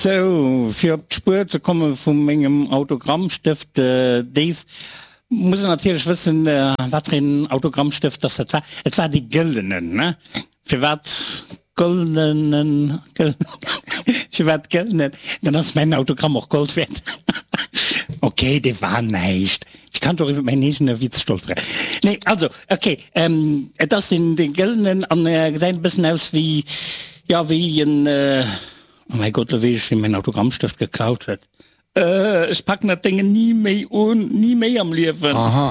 Sou, fir op d'Spuer ze komme vu mengem Autogrammstëft, Dave, muss een natierlech wëssen, wat fir een Autogrammstëft dass dat war. Et war dee gëllenen, ne? Firwat goldenen, firwat gëllenen? Dann ass mäin Autogramm och Gold wäert. Ok, dee war näischt. Ech kann och iwwer mäin eegene Witz stolperen. Nee, also, ok, et ass deen, dee gëllenen an e gesäit e bëssen aus wéi, jo, wéi en, oh mäi Gott, lo weess ech, wien mäin Autogrammstëft geklaut huet. Ech packen dat Déngen ni méi un, ni méi am Liewen. Aha.